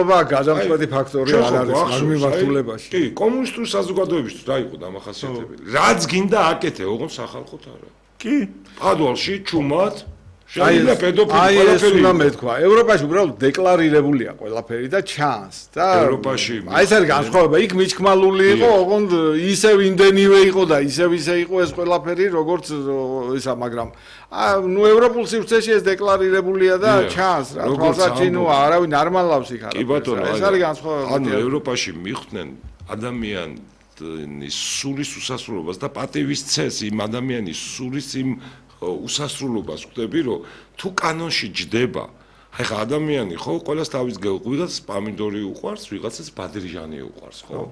გადამწყვეტი ფაქტორი არ არის ამ მიმართულებაში. კი, კომუნისტური საზოგადოებისთვის რა იყო დამახასიათებელი? რაც გინდა აკეთე, ოღონდ სახალხოდ არა. კი, პადვალში ჩუმად შეიძლება პედოფილი ყველაფერი. ეს უნდა მეთქვა. ევროპაში უბრალოდ დეკლარირებულია ყველაფერი და ჩანს და ევროპაში აი ეს არის განსხვავება. იქ მიჩქმალული იყო, ოღონდ ისევ იმდენივე იყო და ისევ იყო ეს ყველაფერი, როგორც ისა, მაგრამ ნუ ევროპულ სივრცეში ეს დეკლარირებულია და ჩანს რა. თვალსაჩინოა, არავინ არ მალავს იქ არა. კი ბატონო, ეს არის განსხვავება. ანუ ევროპაში მიხვდნენ ადამიანის სულის უსასრულობას და პატივის ცეს იმ ადამიანის სულის იმ უსასრულობას ხვდები, რომ თუ კანონში ჯდება, აი ხა ადამიანი ხო, ყველას თავის ვიღაცას პამიდორი უყვარს, ვიღაცას ბადრიჟანი უყვარს, ხო?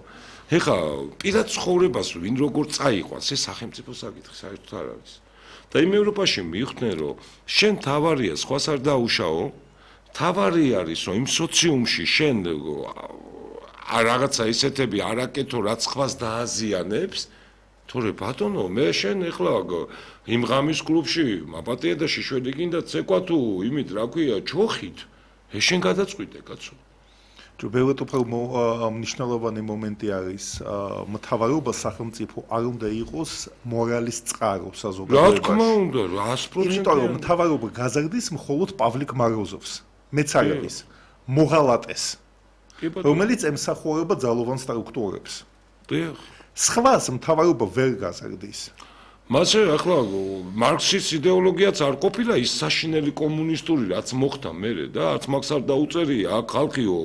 ეხა პირად ცხოვრებას ვინ როგორ წაიყვანს, ეს სახელმწიფო საკითხი საერთოდ არ არის. და იმ ევროპაში მიხვდნენ, რომ შენ თავარია სხვას არ დაუშაო, თავარი არის, რომ იმ სოციუმში შენ რაღაცა ისეთები არ აკეთო, რაც სხვას დააზიანებს. თორე ბატონო, მე შენ ეხლა იმ ღამის კლუბში მაპატია და შიშველი გინდა ცეკვა თუ იმით რა ქვია ჩოხით ეს შენ გადაწყვიტე კაცო. თუ ბევრად უფრო მნიშვნელოვანი მომენტი არის მთავრობა სახელმწიფო არ უნდა იყოს მორალის წყარო საზოგადოებაში. რა თქმა უნდა 100%. იმიტომ რომ მთავრობა გაზრდის მხოლოდ პავლიკ მაროზოვს, მეც არ არის მოღალატეს, რომელიც ემსახურება ძალოვან სტრუქტურებს. დიახ. სხვას მთავრობა ვერ გაზრდის. მასე ახლა მარქსის იდეოლოგიაც არ ყოფილა ის საშინელი კომუნისტური რაც მოხდა მერე და არც მაგს არ დაუწერია აქ ხალხიო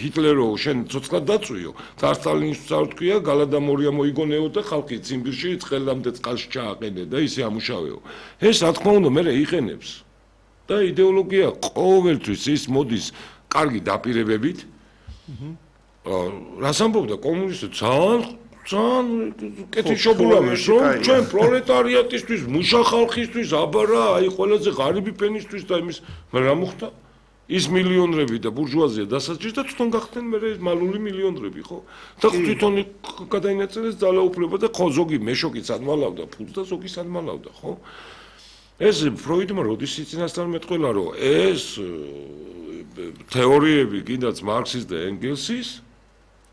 ჰიტლერო შენ ცოცხლად დაწვიო და სტალინს არ თქვია გალადამორია მოიგონეო და ხალხი ციმბირში წყელამდე წყალში ჩააყენე და ისე ამუშავეო ეს რა თქმა უნდა მერე იყენებს და იდეოლოგია ყოველთვის ის მოდის კარგი დაპირებებით რას ამბობდა კომუნისტი ძალიან კეთილშობილამეს რომ ჩვენ პროლეტარიატისთვის, მუშა ხალხისთვის, აბა რა, აი ყველაზე ღარიბი ფენისთვის და იმის რა მოხდა? ის მილიონრები და ბურჟუაზია დასაჭირს და თვითონ გახდნენ მე მალული მილიონრები, ხო? და თვითონ გადაინაწილეს ძალაუფლება და ხო ზოგი მეშოკიც ადმალავდა ფულს და ზოგი სადმალავდა, ხო? ეს ფროიდმა როდის იწინასწარ მეტყველა რომ ეს თეორიები კიდაც მარქსის და ენგელსის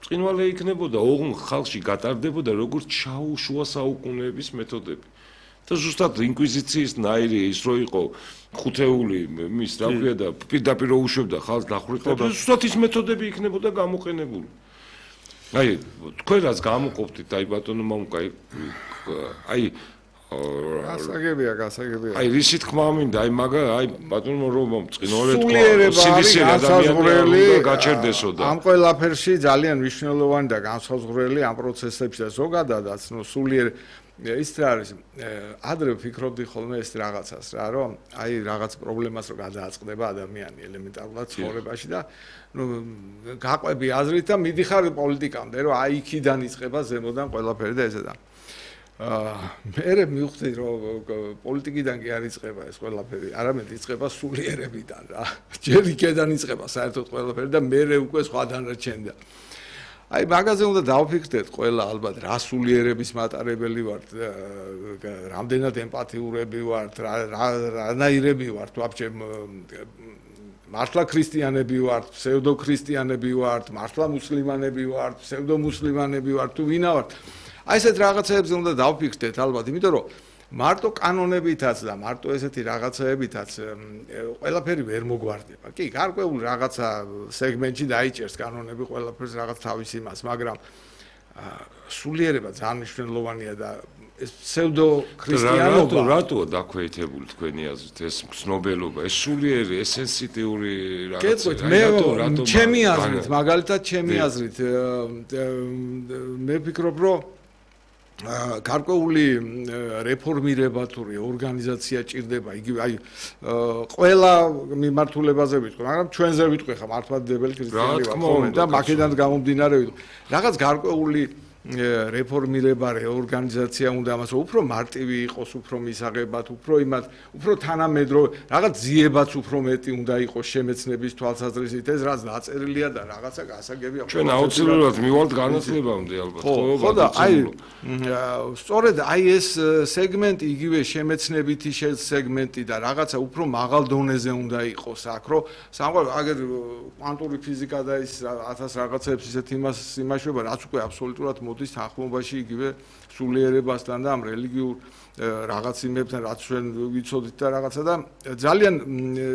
წინვალე იქნებოდა ოღონდ ხალხში გატარდებოდა როგორც შუა საუკუნეების მეთოდები და ზუსტად ინკვიზიციის ნაირი ის რო იყო ხუთეული მის რა ქვია და პირდაპირ უშვებდა ხალხს დახვრეტა ზუსტად ის მეთოდები იქნებოდა გამოყენებული აი თქვენ რაც გამოყოფთით აი ბატონო მამუკა აი გასაგებია აი ისი თქმა მინდა აი მაგა აი ბატონო რომ წინვალე თქვა სივისი ადამიანი გაჩერდესო და ამ ყველაფერში ძალიან მნიშვნელოვანი და განსაზღვრელი ამ პროცესებში და ზოგადადაც ნუ სულიერ ის რა არის ადრე ვფიქრობდი ხოლმე ეს რაღაცას რა რომ აი რაღაც პრობლემას რო გადააწყდება ადამიანი ელემენტარულად ცხოვრებაში და ნუ გაყვები აზრით და მიდიხარ პოლიტიკამდე რომ აი იქიდან იწყება ზემოდან ყველაფერი და ესე და მე მივხვდი რომ პოლიტიკიდან კი არ იწყება ეს ყველაფერი, არამედ იწყება სულიერებიდან რა. ჯერ იქიდან იწყება საერთოდ ყველაფერი და მე უკვე სხვა დანარჩენდა. აი მაგაზე უნდა დავფიქრდეთ ყველა ალბათ რა სულიერების მატარებელი ვართ, რამდენად ემპათიურები ვართ, რანაირები ვართ, ვაფშე მართლა ქრისტიანები ვართ, ფსევდო ქრისტიანები ვართ, მართლა მუსლიმანები ვართ, ფსევდო მუსლიმანები ვართ, თუ ვინა ვართ. აი ესეთ რაღაცეებზე უნდა დავფიქრდეთ ალბათ, იმიტომ რომ მარტო კანონებითაც და მარტო ესეთი რაღაცეებითაც ყველაფერი ვერ მოგვარდება. კი, გარკვეული რაღაცა სეგმენტში დაიჭერს კანონები ყველაფერს რაღაც თავის იმას, მაგრამ სულიერება ძალიან მნიშვნელოვანია და ეს ფსევდო ქრისტიანობა რატოა დაქვეითებული თქვენი აზრით ეს ცნობელობა, ეს სულიერი, ეს სენსიტიური რაღაცა. მე ჩემი აზრით, მაგალითად ჩემი აზრით მე ვფიქრობ, რომ გარკვეული რეფორმირება თუ ორგანიზაცია ჭირდება, იგივე აი ყველა მიმართულებაზე ვიტყვი, მაგრამ ჩვენზე ვიტყვი ხა მართლმადიდებელი ქრისტიანი ვართ და მაკედან გამომდინარე ვიტყვი. რაღაც გარკვეული რეფორმირება, რეორგანიზაცია უნდა ამას უფრო მარტივი იყოს, უფრო მისაღებად, უფრო იმათ, უფრო თანამედროვე, რაღაც ძიებაც უფრო მეტი უნდა იყოს შემეცნების თვალსაზრისით, ეს რაც დაწერილია და რაღაცა გასაგებია. ჩვენ აუცილებლად მივალთ განათლებამდე ალბათ, ხო და აი სწორედ აი ეს სეგმენტი იგივე შემეცნებითი სეგმენტი და რაღაცა უფრო მაღალ დონეზე უნდა იყოს აქ, რომ სამყარო აგერ კვანტური ფიზიკა და ის 1000 რაღაცებს ისეთ იმაშვება, რაც უკვე აბსოლუტურად მოდის თანხმობაში იგივე სულიერებასთან და ამ რელიგიურ რაღაც იმებთან, რაც ჩვენ ვიცოდით და რაღაცა და ძალიან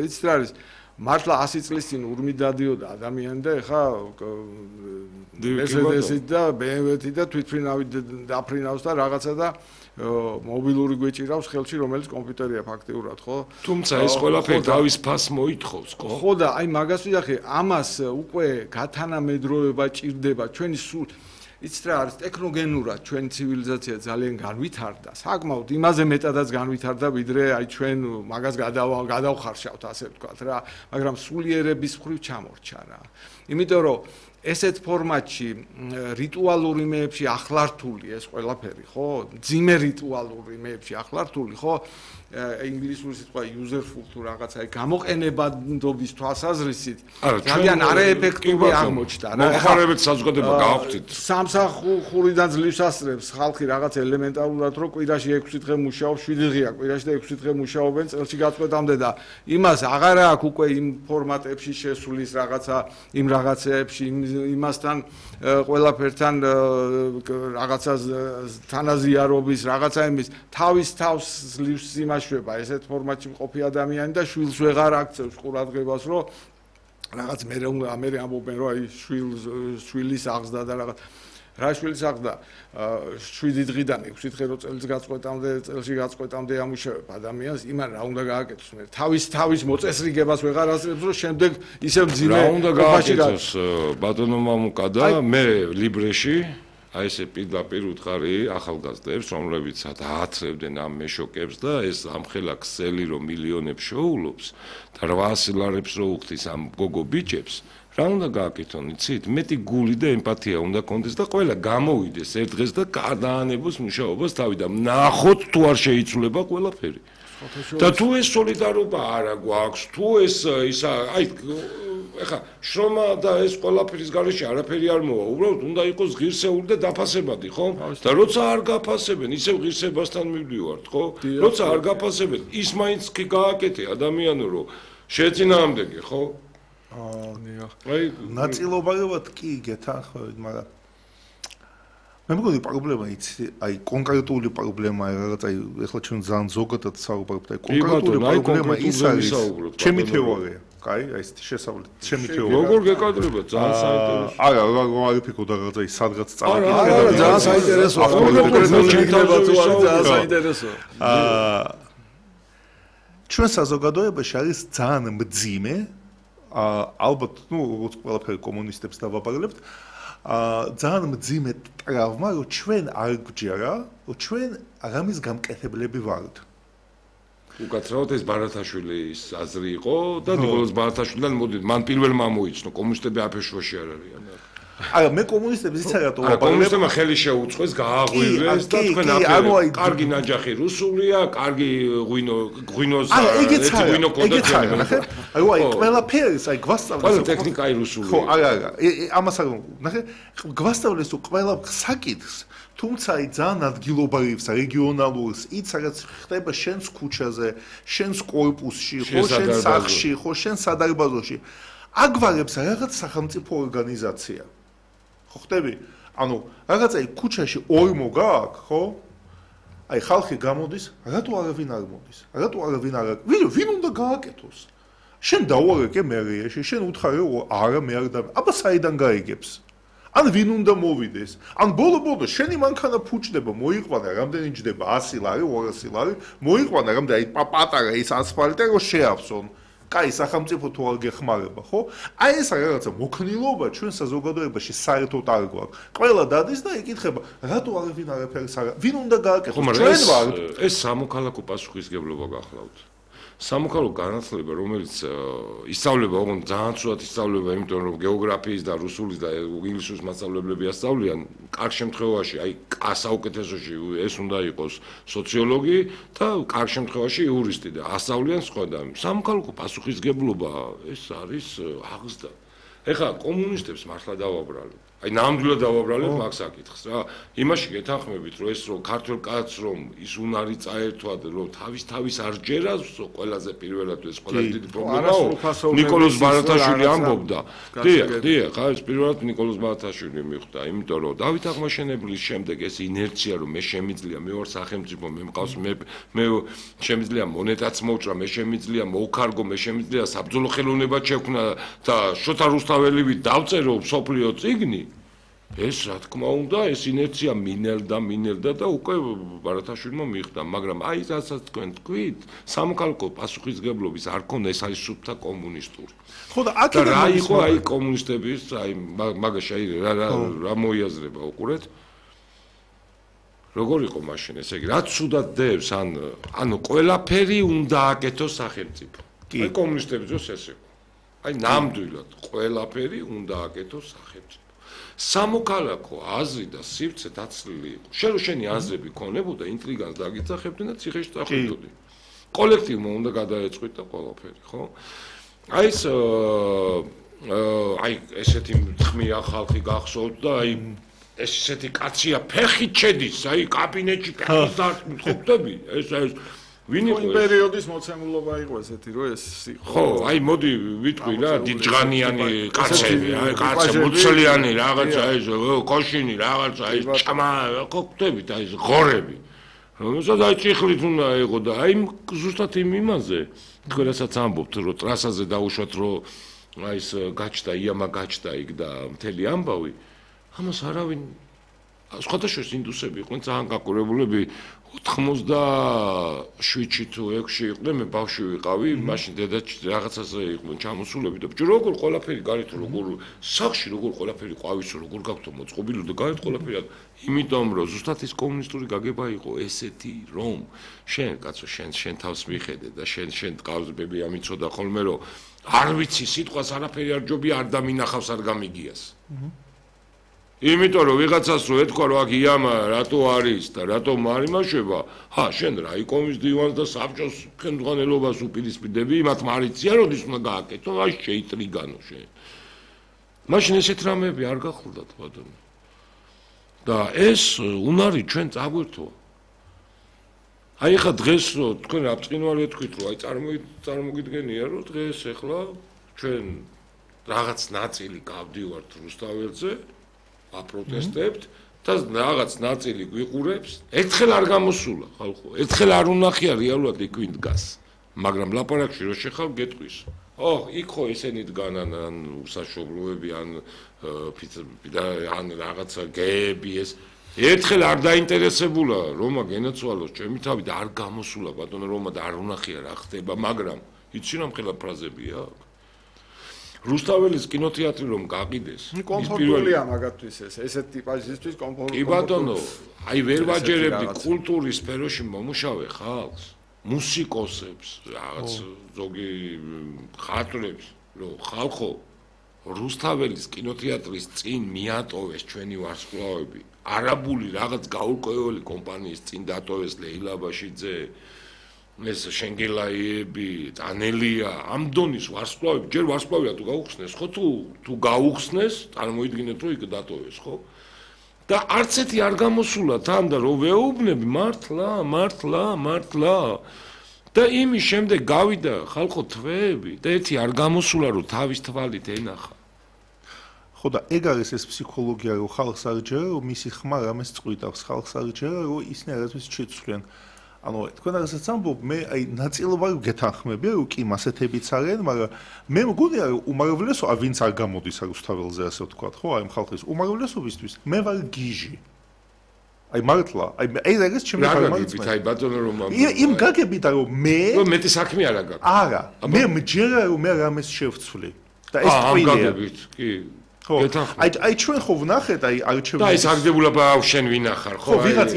იცით რა არის მართლა 100 წლის წინ ურმი დადიოდა ადამიანი და ეხა Mercedes-ით და BMW-ით და თვითფრინავით დაფრინავს და რაღაცა და მობილური გვეჭირავს ხელში, რომელიც კომპიუტერია ფაქტიურად, ხო? თუმცა ეს ყველაფერი დავის ფასს მოითხოვს, ხო? ხო და აი მაგას ვიახე, ამას უკვე გათანამედროვება ჭირდება ჩვენი სულ იცით რა არის ტექნოგენურად ჩვენი ცივილიზაცია ძალიან განვითარდა. საკმაოდ იმაზე მეტადაც განვითარდა, ვიდრე აი ჩვენ მაგას გადავხარშავთ, ასე ვთქვათ რა, მაგრამ სულიერების მხრივ ჩამორჩა რა. იმიტომ რომ ესეთ ფორმატში რიტუალურ იმეებში ახლართული ეს ყველაფერი, ხო? ძიმე რიტუალურ იმეებში ახლართული, ხო? ინგლისური სიტყვა userful თუ რაღაცა აი გამოყენებადობის თვალსაზრისით ძალიან არაეფექტური აღმოჩნდა რა. მოხარებეთ საზოგადოება გააღვთით. სამსახურიდან ძლივს ასწრებს ხალხი რაღაც ელემენტარულად, რომ კვირაში 6 დღე მუშაობს, 7 დღეა კვირაში და 6 დღე მუშაობენ წელში გაწყვეტამდე და იმას აღარ აქვს უკვე იმ ფორმატებში შესulis რაღაცა იმ რაღაცეებში იმასთან ყველაფერთან რაღაცა თანაზიარობის რაღაცა იმის თავის თავს ძლივს იმაშვება ესეთ ფორმატში მყოფი ადამიანი და შვილს ვეღარ აქცევს ყურადღებას, რომ რაღაც მე ამბობენ, რომ აი შვილის აღზრდა და რაღაც რა შვილის აღზრდა 7 დღიდან 6 დღე რო წელში გაწყვეტამდე ამუშავებ ადამიანს, იმან რა უნდა გააკეთოს მე თავის მოწესრიგებას ვეღარ ასწრებს, რომ შემდეგ ისევ ძიმე რა უნდა გააკეთოს ბატონო მამუკა და მე ლიბრეში აი ესე პირდაპირ უთხარი ახალგაზრდებს, რომლებიც დააცრევდნენ ამ მეშოკებს და ეს ამხელა ქსელი რომ მილიონებს შოულობს და 800 ლარებს რო უხდის ამ გოგო ბიჭებს, რა უნდა გააკეთონ, იცით? მეტი გული და ემპათია უნდა კონდეს და ყველა გამოვიდეს ერთ დღეს და გადაანებოს მუშაობას თავი და ნახოთ თუ არ შეიცვლება ყველაფერი. და თუ ეს სოლიდარობა არა გვაქვს, თუ ეს ისა აი ეხა შრომა და ეს ყველაფერის გარეშე არაფერი არ მოვა, უბრალოდ უნდა იყოს ღირსეული და დაფასებადი, ხო? და როცა არ გაფასებენ, ისევ ღირსებასთან მივდივართ, ხო? როცა არ გაფასებენ, ის მაინც კი გააკეთე ადამიანო, რომ შეეწინააღმდეგე, ხო? აი ნაწილობრივად კი გეთანხმებით, მაგრამ მე მგონი პრობლემა იცი, აი კონკრეტული პრობლემა რაღაც აი ეხლა ჩვენ ძალიან ზოგადად საუბრობთ, აი კონკრეტული პრობლემა ის არის. ჩემი თეორია, კაი, აი ეს შესავლით, ჩემი თეორია. როგორ გეკადრება, ძალიან საინტერესო. არა, რა ვიფიქრო და რაღაცა ის სადღაც წავიდი. არა, ძალიან საინტერესო. ძალიან საინტერესო. ჩვენ საზოგადოებაში არის ძალიან მძიმე, ალბათ, ნუ როგორც ყველაფერი კომუნისტებს დავაბარებთ, ძალიან მძიმე ტრავმა, რომ ჩვენ არ გვჯერა, რომ ჩვენ რამის გამკეთებლები ვართ. უკაცრავად ეს ბარათაშვილის აზრი იყო და დიბოლოს ბარათაშვილიდან მოდით, მან პირველ მომოიცნო, კომუნისტები აფეშვაში არ არიან. არა, მე კომუნისტებს იცი რატო ვაპარებ? კომუნისტებმა ხელი შეუწყეს, გააღვივეს და თქვენ აფერ კარგი ნაჯახი რუსულია, კარგი ღვინოს ეცი ღვინო კონდეთ. აი ყველაფერს აი გვასწავლეს. ყველა ტექნიკა აი რუსულია. ხო, არა, ამას არ ნახე, გვასწავლეს თუ ყველა საკითხს, თუმცა აი ძალიან ადგილობრივს, რეგიონალურს, იც რაღაც ხდება შენს ქუჩაზე, შენს კორპუსში, ხო, შენს სახლში, ხო, შენს სადარბაზოში. აგვარებს რაღაც სახელმწიფო ორგანიზაცია. ხო ხტები? ანუ რაღაც აი ქუჩაში ორმო გააქვს, ხო? აი ხალხი გამოდის, რატო არავინ არ მოდის? რატო არავინ არ ვინ უნდა გააკეთოს? შენ დაუარეკე მერიაში, შენ უთხარი რომ არა მე არ და აბა საიდან გაიგებს? ან ვინ უნდა მოვიდეს? ან ბოლო შენი მანქანა ფუჭდება, მოიყვანა რამდენი ჯდება 100 ლარი, 200 ლარი, მოიყვანა რამდენი აი პატარა ის ასფალტი რომ შეავსონ. კაი სახელმწიფო თუ არ გეხმარება, ხო? აი ეს რაღაცა მოქნილობა ჩვენ საზოგადოებაში საერთოდ არ გვაქვს. ყველა დადის და იკითხება, რატო არავინ არაფერს არ ვინ უნდა გააკეთოს? ჩვენ ვართ. ეს სამოქალაქო პასუხისგებლობა გახლავთ. სამოქალაქო განათლება, რომელიც ისწავლება, ოღონდ ძალიან ცუდად ისწავლება, იმიტომ რომ გეოგრაფიის და რუსულის და ინგლისურის მასწავლებლები ასწავლიან, კარგ შემთხვევაში, აი, საუკეთესოში ეს უნდა იყოს სოციოლოგი და კარგ შემთხვევაში იურისტი და ასწავლიან სხვა და სამოქალაქო პასუხისგებლობა ეს არის აღზრდა. ეხლა კომუნისტებს მართლა დავაბრალებ. აი ნამდვილად დავაბრალებ მაგ საკითხს რა. იმაში გეთანხმებით რომ ეს რომ ქართულ კაცს რომ ის უნარი წაერთვად რომ თავის არ ჯერას ყველაზე პირველად ეს ყველაზე დიდი პრობლემაა. ნიკოლოზ ბარათაშვილი ამბობდა. დიახ, ხა ეს პირველად ნიკოლოზ ბარათაშვილი მიხვდა, იმიტომ რომ დავით აღმაშენებლის შემდეგ ეს ინერცია რომ მე შემიძლია, მე ვარ სახელმწიფო, მე მყავს მე შემიძლია მონეტაც მოვჭრა, მე შემიძლია მოვქარგო, მე შემიძლია საბრძოლო ხელოვნება შექმნა და შოთა რუსთაველივი დავწერო სოფლიო წიგნი. ეს რა თქმა უნდა, ეს ინერცია მინელდა და უკვე ბარათაშვილმა მიხვდა, მაგრამ აი რასაც თქვენ თქვით, სამოქალაქო პასუხისგებლობის არ ქონდა, ეს არის სუფთა კომუნისტური. ხო და აქედან რა იყო აი კომუნისტების, აი მაგაში აი რა მოიაზრება უყურეთ? როგორ იყო მაშინ ესე იგი, რაც ცუდად დევს, ანუ ყველაფერი უნდა აკეთოს სახელმწიფო. აი კომუნისტების დროს ეს იყო. აი ნამდვილად ყველაფერი უნდა აკეთოს სახელმწიფო. სამოქალაქო აზრი და სივრცე დაცლილი იყო. შენი აზრები ქონებოდა, ინტრიგანს დაგიძახებდნენ და ციხეში წახვიდოდნენ. კოლექტივმა უნდა გადაეწყვით და ყველაფერი, ხო? აი ეს აი ესეთი ხმია ხალხი გახსოვთ და აი ესეთი კაცია ფეხით შედის, აი კაბინეტში ფეხით დარტყმით, ხო ხდები? ეს ვინ იყო პერიოდის მოცემულობა იყო ესეთი რომ ეს იყო. ხო, აი მოდი ვიტყვი რა, დიდჟღანიანი კაცები, აი კაცები მუცლიანი რაღაცა ეს კოშინი რაღაცა ეს ჭამა, ხო ხდებით აი ეს ღორები. რომელსაც აი ჭიხლით უნდა იყო და აი ზუსტად იმაზე თქვენასაც ამბობთ რომ ტრასაზე დაუშვათ რომ აი ეს გაჩნდა იამა გაჩნდა იქ და მთელი ამბავი ამას არავინ სხვადასხვა ინდუსები იყვნენ ძალიან გაკურებულები 87-ში თუ 6-ში იყვნენ მე ბავშვი ვიყავი მაშინ დედა რაღაცაზე იყვნენ ჩამოსულები და ბჭო როგორ ყველაფერი გარეთ როგორ სახში როგორ ყველაფერი ყვავის როგორ გაქვთ მოწყობილი და გარეთ ყველაფერი იმიტომ რომ ზუსტად ის კომუნისტური გაგება იყო ესეთი რომ შენ კაცო შენ თავს მიხედე და შენ ტყავსბები ამიცოდა ხოლმე რომ არ ვიცი სიტყვას არაფერი არ ჯობია არ დამინახავს არ გამიგიას იმიტომ რომ ვიღაცას რო ეთქვა რომ აქ იამა რატო არის და რატო მარიმაშება, შენ რაიკომის დივანს და საბჭოს ხელმძღვანელობას უპირისპირდები, მათ მარიცია როდის უნდა გააკეთო, აი შეიტრიგანო შენ. მაშინ ესეთ რამეები არ გახულდათ ბატონო. და ეს უნარი ჩვენ წაგვერთო. აი ხა დღეს რო თქვენ რა ბწყინვალე თქვით რომ აი წარმოგიდგენია რომ დღეს ეხლა ჩვენ რაღაც ნაწილი გავდივართ რუსთაველზე აპროტესტებთ და რაღაც ნაწილი გვიყურებს. ერთხელ არ გამოსულა ხალხო. ერთხელ არ უნახია რეალურად იქ ვინ დგას. მაგრამ ლაპარაკში რო შეხავ გეტყვის. იქ ხო ესენი დგანან ან უსაშობლოები ან ან რაღაცა გეები ეს. ერთხელ არ დაინტერესებულა რომა გენაცვალოს ჩემი თავი და არ გამოსულა ბატონო რომა და არ უნახია რა ხდება, მაგრამ იცი რა მხელა ფრაზებია აქ. რუსთაველის კინოთეატრი რომ გაყიდეს კომფორტულია მაგათთვის ესეთ ტიპაჟისთვის კომფორტულია. კი ბატონო, აი ვერ ვაჯერებდი კულტურის სფეროში მომუშავე ხალხს, მუსიკოსებს, რაღაც ზოგი ხატრებს, რომ ხალხო რუსთაველის კინოთეატრის წინ მიატოვეს ჩვენი ვარსკვლავები, არაბული რაღაც გაურკვეველი კომპანიის წინ დატოვეს ლეილა ბაშიძე ეს შენგელაიები, ანელია, ამ დონის ვარსკვლავები, ჯერ ვარსკვლავია თუ გაუხსნეს, ხო თუ გაუხსნეს, წარმოიდგინეთ რომ იქ დატოვეს, ხო? და არც ერთი არ გამოსულა თან და რო ვეუბნები მართლა და იმის შემდეგ გავიდა ხალხო თვეები და ერთი არ გამოსულა რომ თავის თვალით ენახა. ხო და ეგ არის ეს ფსიქოლოგია რომ ხალხს არ ჯერა რომ მისი ხმა რამეს წყვიტავს, ხალხს არ ჯერა რომ ისინი რაღაცას შეცვლიან. ანუ თქვენ რაღაცას ამბობ, მე აი ნაწილობრივ გეთანხმებია, რომ კი მასეთებიც არიან, მაგრამ მე მგონია რომ უმრავლესობა ვინც არ გამოდის რუსთაველზე ასე ვთქვათ, ხო, აი ხალხის უმრავლესობისთვის მე ვარ გიჟი. აი მართლა, აი ეს ჩემი გაგებით, აი ბატონო რომ იმ გაგებით რომ მე მეტი საქმე არა გაქვს. არა, მე მჯერა რომ მე რამეს შევცვლი. და ეს ტყილია. გაგებით, კი. ხო აი ჩვენ ხო ვნახეთ აი არჩევნების და ის აგდებულება შენ ვინ ახარ ხო ვიღაც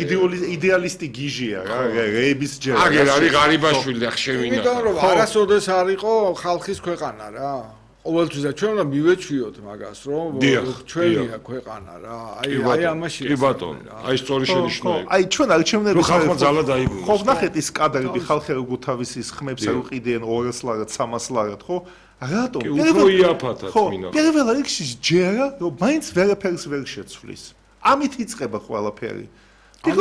იდეალისტი გიჟია რა რეების ჯერ აგერ არის ღარიბაშვილი ახ შენ ვინ ახარ იმიტომ რომ არასოდეს არ იყო ხალხის ქვეყანა რა ყოველთვის და ჩვენ უნდა მივეჩვიოთ მაგას რომ ჩვენია ქვეყანა რა აი ამაში კი ბატონო აი სწორი შენიშვნა აი ჩვენ არჩევნების ხალხმა ძალა დაიბრუნეს ხო ვნახეთ ის კადრები ხალხი როგორ თავის ის ხმებს არ უყიდიან 200 ლარად 300 ლარად ხო რატომ? უფრო იაფათად მინდა. პირველ რიგში ჯერა, რომ მაინც ვერაფერს ვერ შეცვლის. ამით იწყება ყველაფერი. ეს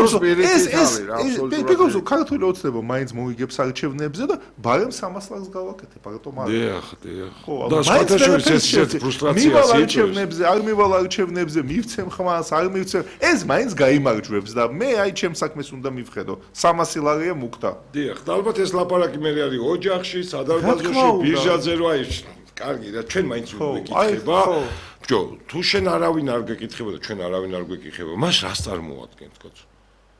ქართული ოცნება მაინც მოიგებს არჩევნებზე და ბარემ 300 ლარს გავაკეთებ, რატომ არა? დიახ. და სხვადასხვა ეს ფრუსტრაციას არჩევნებზე, არ მივალ არჩევნებზე, მივცემ ხმას, არ მივცემ. ეს მაინც გაიმარჯვებს და მე აი ჩემ საქმეს უნდა მივხედო. 300 ლარია მუქთა. დიახ, და ალბათ ეს ლაპარაკი მე არის ოჯახში, სადარბაზოში, ბირჟაზე რო აი კარგი და ჩვენ მაინც ვიკითხება. ბჭო, თუ შენ არავინ არ გეკითხება და ჩვენ არავინ არ გვეკითხება, მას რას წარმოადგენთ, კაცო?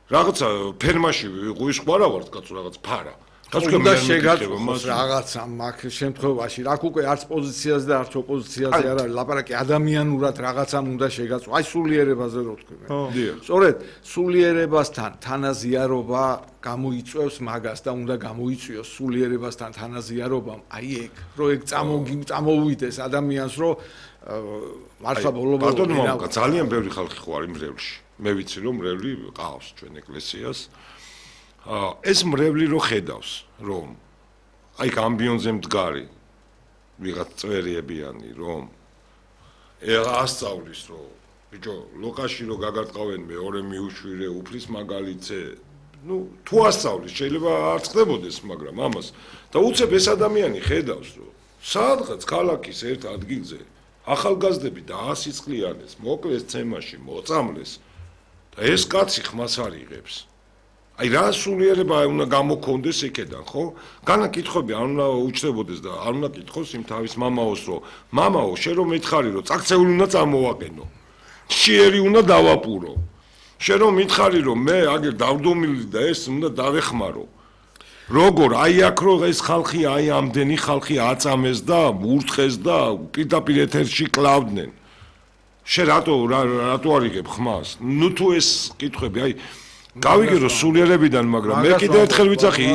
რაღაცა ფერმაში ღვიში რა ვართ, კაცო, რაღაც ფარა. კაცო, უნდა შეგაწყვეტოს რაღაცა მაგ შემთხვევაში, რა უკვე არც პოზიციაზე და არც ოპოზიციაზე არ არის, ლაპარაკი ადამიანურად რაღაცამ უნდა შეგაწყვეტოს. აი სულიერებაზე რო თქვი მე. სწორედ, სულიერებასთან თანაზიარობა გამოიწვევს მაგას და უნდა გამოიწვიოს სულიერებასთან თანაზიარობამ. აი ეგ, რო ეგ წამოვიდეს ადამიანს, რო მართლა ბოლო-ბოლო ბატონო, ძალიან ბევრი ხალხი ხო არის მრევლში. მე ვიცი რომ მრევლი ყავს ჩვენ ეკლესიას. ეს მრევლი რო ხედავს, რომ აი ამბიონზე მდგარი ვიღაც წვერიებიანი, რომ ასწავლის, რომ ბიჭო, ლოკაში რო გაგარტყავენ მეორე მიუშვირე, უფლის მაგალითზე, ну, თუ ასწავლის, შეიძლება არ ხდებოდეს, მაგრამ ამას და უცებ ეს ადამიანი ხედავს, რომ სადღაც ქალაქის ერთ ადგილზე ახალგაზრდები და 100 წლიანეს მოკლეს ცემაში, მოწამლეს და ეს კაცი ხმას არ იღებს. აი რა სულიერება უნდა გამოქონდეს იქედან, ხო? განა კითხვები არ უნდა უჩნდებოდეს და არ უნდა კითხოს იმ თავის მამაოს, რომ მამაო, შენ რომ მითხარი, რომ წაქცეული უნდა წამოვაყენო. შიერი უნდა დავაპურო. შენ რომ მითხარი, რომ მე აგერ დავდომილი და ეს უნდა დავეხმარო. როგორ აი აქ რო ეს ხალხი აი ამდენი ხალხი აწამეს და ურთხეს და პირდაპირ ეთერში კლავდნენ. შენ რატო არ იღებ ხმას? ნუ თუ ეს კითხვები აი გავიგე რომ სულიერებიდან, მაგრამ მე კიდევ ერთხელ ვიცახი,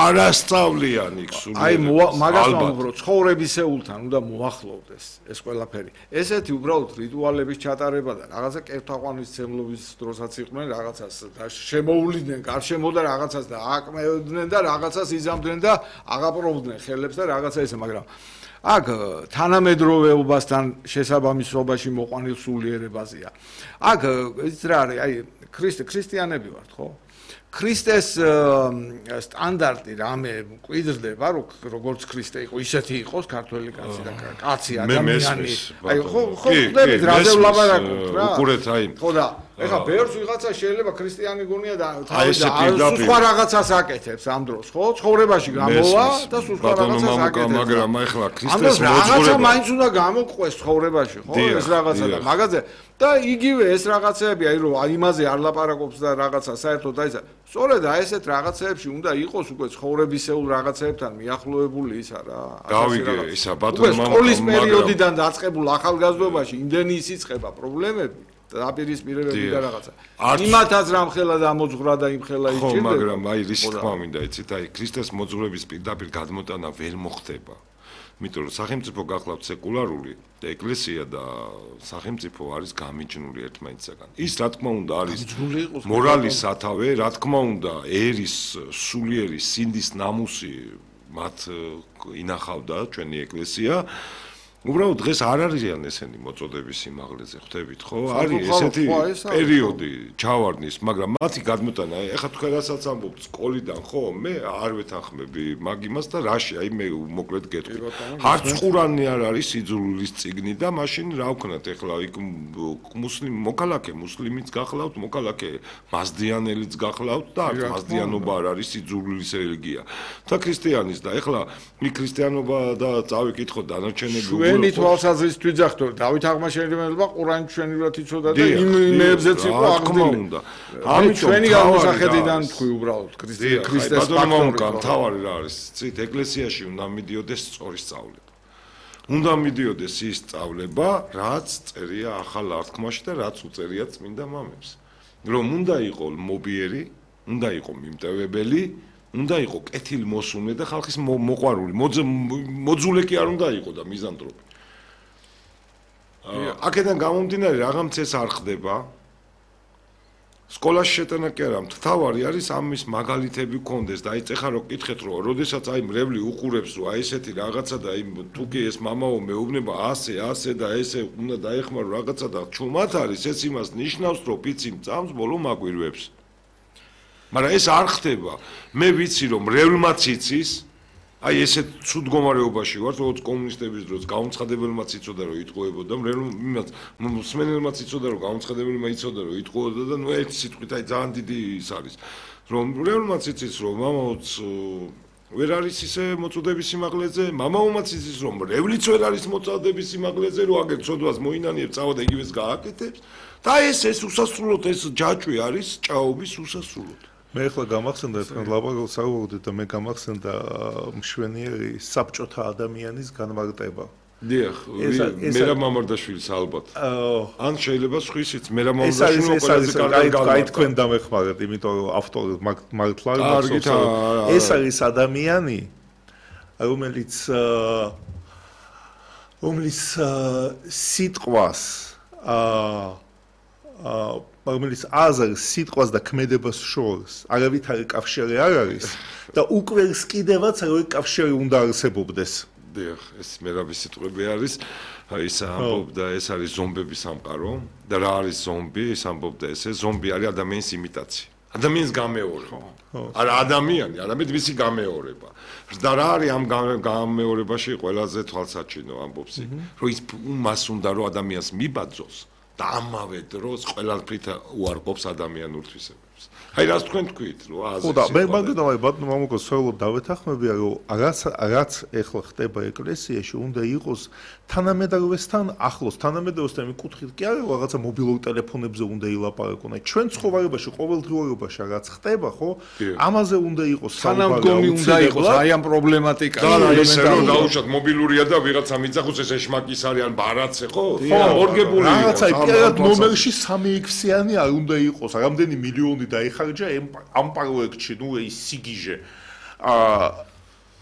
არასწავლიან იქ სულიერები. აი მაგას ვამბობ, ცხოვრებისეულთან უნდა მოახლოვდეს ეს ყველაფერი. ესეთი უბრალოდ რიტუალების ჩატარება და რაღაცა კერთაყვანისმცემლობის დროსაც იყვნენ რაღაცას და შემოუვლიდნენ გარშემო და რაღაცას და აკმევდნენ და რაღაცას იზამდნენ და აღაპროვდნენ ხელებს და რაღაცა ესე, მაგრამ აქ თანამედროვეობასთან შესაბამისობაში მოყვანილ სულიერებაზეა. აქ ის რა არის, აი ქრისტიანები ვართ, ხო? ქრისტეს სტანდარტი რამე მკვიდრდება, როგორც ქრისტე იყო, ისეთი იყოს ქართველი კაცი და კაცი ადამიანი. აი ხო ხდებით რაზე ვლაპარაკობთ რა? უყურეთ აი. ხო და ეხლა ბევრს ვიღაცა შეიძლება ქრისტიანი გონია და სხვა რაღაცას აკეთებს ამ დროს, ხო? ცხოვრებაში გამოვა და სხვა რაღაცას აკეთებს. მაგრამ ეხლა ქრისტეს მოძღვრება. რაღაცა მაინც უნდა გამოყვეს ცხოვრებაში, ხო? ეს რაღაცა და მაგაზე და იგივე ეს რაღაცეები, აი რომ იმაზე არ ლაპარაკობს და რაღაცა საერთოდ აი სწორედ აი ესეთ რაღაცეებში უნდა იყოს უკვე ცხოვრებისეულ რაღაცეებთან მიახლოებული ისა რა. გავიგე ისა ბატონო მამაკაცო, სკოლის პერიოდიდან დაწყებულ ახალგაზრდობაში იმდენი ისიცხება პრობლემები დაპირისპირებები და რაღაცა. იმათაც რამხელა დამოძღვრა და იმხელა იჭირდება. ხო, მაგრამ აი რის თქმა მინდა იცით, აი ქრისტეს მოძღვრების პირდაპირ გადმოტანა ვერ მოხდება. იმიტომ რომ სახელმწიფო გახლავთ სეკულარული და ეკლესია და სახელმწიფო არის გამიჯნული ერთმანეთისაგან. ის რა თქმა უნდა არის მორალის სათავე, რა თქმა უნდა ერის სულიერი სინდის ნამუსი მათ ინახავდა ჩვენი ეკლესია. უბრალოდ დღეს არ არიან ესენი მოწოდების სიმაღლეზე, ხვდებით ხო? არის ესეთი პერიოდი ჩავარდნის, მაგრამ მათი გადმოტანა, ეხლა თქვენ რასაც ამბობთ სკოლიდან, ხო? მე არ ვეთანხმები მაგ იმას და რაში, აი მე მოკლედ გეტყვი. არც ყურანი არ არის სიძულვილის წიგნი და მაშინ რა ვქნათ ეხლა იქ მოქალაქე მუსლიმიც გახლავთ, მოქალაქე მაზდიანელიც გახლავთ და არც მაზდიანობა არ არის სიძულვილის რელიგია. და ქრისტიანის და ეხლა იქ ქრისტიანობა და წავიკითხოთ დანარჩენები ჩვენი თვალსაზრისით ვიძახთ რომ დავით აღმაშენებელმა ყურანი ჩვენივრად იცოდა და იმებზეც იყო აღდგენილი. ამით ჩვენი გამოსახედიდან თქვი უბრალოდ ქრისტეს ფაქტორი. თავარი რა არის? ცით ეკლესიაში უნდა მიდიოდეს სწორი სწავლება. უნდა მიდიოდეს ის სწავლება, რაც წერია ახალ აღთქმაში და რაც უწერია წმინდა მამებს. რომ უნდა იყოს მობიერი, უნდა იყოს მიმტევებელი, უნდა იყოს კეთილმოსურნე და ხალხის მოყვარული, მოძულე კი არ უნდა იყოს და მიზანტროპი. აქედან გამომდინარე რაღაც ეს არ ხდება. სკოლაში შეტანა კი არა, მთავარი არის ამის მაგალითები გქონდეს და აი ეხლა რო კითხეთ რომ როდესაც აი მრევლი უყურებს რომ აი ესეთი რაღაცა და აი თუ კი ეს მამაო მეუბნება ასე და ესე უნდა დაეხმარო რაღაცა და ჩუმად არის ეს იმას ნიშნავს რომ პიცი მწამს ბოლო მაგვირვებს. მაგრამ ეს არ ხდება. მე ვიცი რომ მრევლმაც იცის აი ესე ცუდ მდგომარეობაში ვარ, როგორც კომუნისტების დროს გაუნცხადებელმაც იცოდა რომ იტყუებოდა, მრევლმაც მსმენელმაც იცოდა რომ გაუნცხადებელმა იცოდა რომ იტყუებოდა და ნუ ერთი სიტყვით აი ძალიან დიდი ის არის. რომ მრევლმაც იცის რომ მამაოც ვერ არის ისე მოწოდების სიმაღლეზე, მამაომაც იცის რომ მრევლიც ვერ არის მოწოდების სიმაღლეზე, რომ აგერ ცოდვას მოინანიებს, წავად იგივეს გააკეთებს და ეს უსასრულოდ ეს ჯაჭვი არის ჭაობის უსასრულოდ. მე ახლა გამახსენდა თქვენ ლაპარაკობთ საუბრობთ და მე გამახსენდა მშვენიერი საბჭოთა ადამიანის განმარტება. დიახ, მერაბ მამარდაშვილის ალბათ. ან შეიძლება სხვისიც მერაბ მამარდაშვილი ყველაზე კარგი აი თქვენ დამეხმარეთ, იმიტომ რომ ავტორი მართლა ეს არის ადამიანი, რომელიც სიტყვას რომელიც აზრს, სიტყვას და ქმედებას შორს არავითარი კავშირი არ არის და უკვეს კიდევაც როგორი კავშირი უნდა არსებობდეს. დიახ, ეს მერაბის სიტყვები არის, ის ამბობდა, ეს არის ზომბების სამყარო და რა არის ზომბი? ის ამბობდა, ესე ზომბი არის ადამიანის იმიტაცია. ადამიანის გამეორება. არა ადამიანი, არამედ მისი გამეორება. და რა არის ამ გამეორებაში ყველაზე თვალსაჩინო ამბობს იქ, რომ ის მას უნდა რომ ადამიანს მიბაძოს და ამავე დროს ყველაფრით უარყოფს ადამიანურ თვისებებს. აი რას თქვენ თქვით, რომ აზრი. ხო და მე მაგდამა ბატონო მამუკო სოლოდ დავეთანხმებია, რომ რაც ეხლა ხდება ეკლესიაში, უნდა იყოს თანამედროვესთან ახლოს, თანამედროვესთან იმ კუთხით კი არა, რაღაცა მობილურ ტელეფონებზე უნდა ილაპარაკონ. აი ჩვენ ცხოვრებაში, ყოველდღიურობაში რაც ხდება, ხო? ამაზე უნდა იყოს თანამგონი უნდა იყოს აი ამ პრობლემატიკაზე. და ესე რომ დაუშვათ მობილურია და ვიღაცა მიწახოს ეს ეშმაკის არის ან ბარაცე, ხო? ორგებული რაღაცა პირად ნომერში 3X-იანი არ უნდა იყოს, რამდენი მილიონი დაიხარჯა ამ პროექტში, ნუ ის სიგიჟე.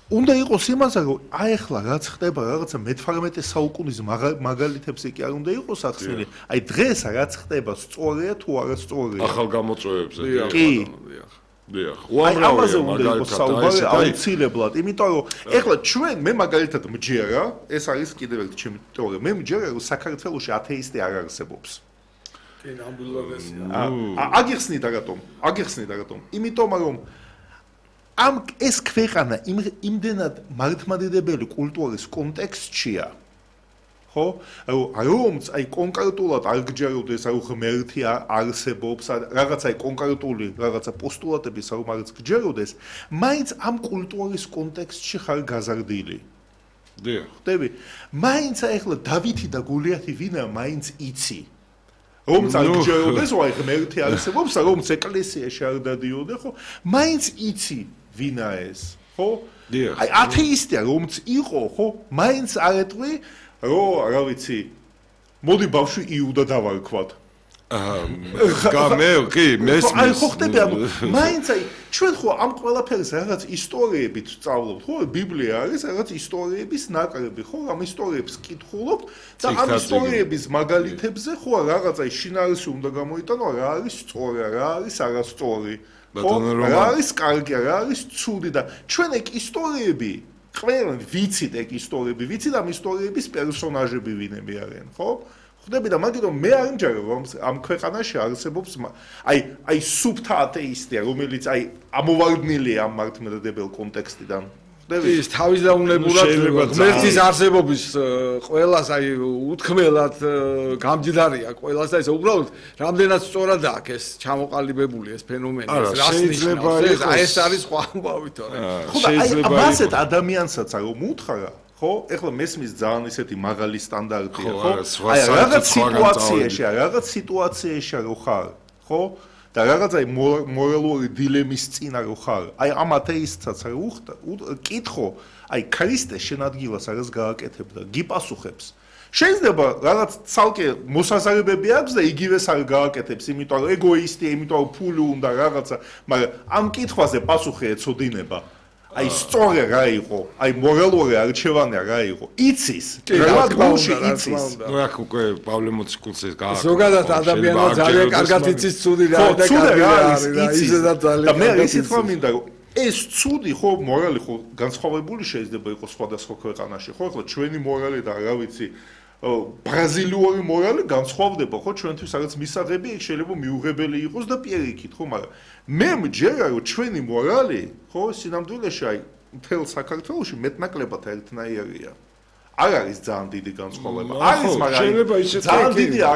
უნდა იყოს იმაზე, რომ აი ახლა რაც ხდება, რაღაცა მე-18 საუკუნის მაგალითებზე კი არ უნდა იყოს ახსნილი. აი დღეს რაც ხდება, სწორია თუ არა სწორია. ახალ გამოწვევებზე. კი. დიახ. ამაზე უნდა იყოს საუბარი აუცილებლად, იმიტომ რომ ეხლა ჩვენ მე მაგალითად მჯერა, ეს არის კიდევ ერთი ჩემი თეორია. მე მჯერა, რომ საქართველოში ათეისტი არ არსებობს. კი, ნამდვილადესია. აგიხსნიდა რატომ? იმიტომ რომ ეს ქვეყანა იმდენად მართლმადიდებელი კულტურის კონტექსტშია, ხო? რომც აი კონკრეტულად არ გჯეროდეს, რომ ღმერთი არსებობს, რაღაცა კონკრეტული რაღაცა პოსტულატების რომ არც გჯეროდეს, მაინც ამ კულტურის კონტექსტში ხარ გაზარდილი. დიახ. ხდები? მაინც ახლა დავითი და გოლიათი ვინა მაინც იცი. რომც არ გჯეროდეს, რომ აი ღმერთი არსებობს, რომც ეკლესიაში არ დადიოდე, ხო? მაინც იცი ვინა ეს, ხო? დიახ. აი ათეისტია რომც იყო, ხო? მაინც არ ეტყვი რა ვიცი, მოდი ბავშვი იუდა დავარქვათ. კი, მესმის. აი ხო ხდები, მაინც აი ჩვენ ხო ამ ყველაფერს რაღაც ისტორიებით ვწავლობთ, ხო? ბიბლია არის რაღაც ისტორიების ნაკრები, ხო? ამ ისტორიებს კითხულობთ და ამ ისტორიების მაგალითებზე ხო რაღაცა შინაარსი უნდა გამოიტანო, რა არის სწორი, რა არის არასწორი. რა არის კარგი, რა არის ცუდი და ჩვენ ეგ ისტორიები ყველა ვიცით ეგ ისტორიები, ვიცით ამ ისტორიების პერსონაჟები ვინები არიან, ხო? ხდები და მაგით რომ მე არ მჯერა რომ ამ ქვეყანაში არსებობს აი სუფთა ათეისტია, რომელიც აი ამოვარდნილია ამ მართლმადიდებელ კონტექსტიდან. ის თავისდაუნებურად ღმერთის არსებობის ყველას აი უთქმელად გამჯდარია ყველას და ეს უბრალოდ რამდენად სწორად აქვს ეს ჩამოყალიბებული ეს ფენომენი რას ნიშნავს ეს არის სხვა ამბავი თორე ხო და აი ამასეთ ადამიანსაც რომ უთხრა ხო ეხლა მესმის ძალიან ისეთი მაღალი სტანდარტია ხო აი რაღაც სიტუაციაში რო ხარ ხო და რაღაც აი მორალური დილემის წინ არ ხარ. აი ამ ათეისტსაც არ კითხო, აი ქრისტე შენ ადგილას არას გააკეთებ და გიპასუხებს. შეიძლება რაღაც ცალკე მოსაზრებები აქვს და იგივეს არ გააკეთებს, იმიტომ რომ ეგოისტია, იმიტომ რომ ფული უნდა რაღაცა, მაგრამ ამ კითხვაზე პასუხი ეცოდინება. აი სწორე რა იყო, აი მორალური არჩევანა რა იყო. იცის, რა გულში იცის. ნუ აქ უკვე პავლე მოციქულს გააკეთე. ზოგადად ადამიანმა ძალიან კარგად იცის ცუდი რა და კარგი რა არის და ისედაც ძალიან. და მე ისიც რა მინდა რომ ეს ცუდი ხო მორალი ხო განსხვავებული შეიძლება იყოს სხვადასხვა ქვეყანაში ხო ახლა ჩვენი მორალი და რა ვიცი ბრაზილიური მორალი განსხვავდება ხო ჩვენთვის რაღაც მისაღები ეგ შეიძლება მიუღებელი იყოს და პირიქით ხო მაგრამ მე მჯერა რომ ჩვენი მორალი ხო სინამდვილეში აი მთელ საქართველოში მეტნაკლებად ერთნაირია არ არის ძალიან დიდი განსხვავება არის მაგრამ ძალიან დიდი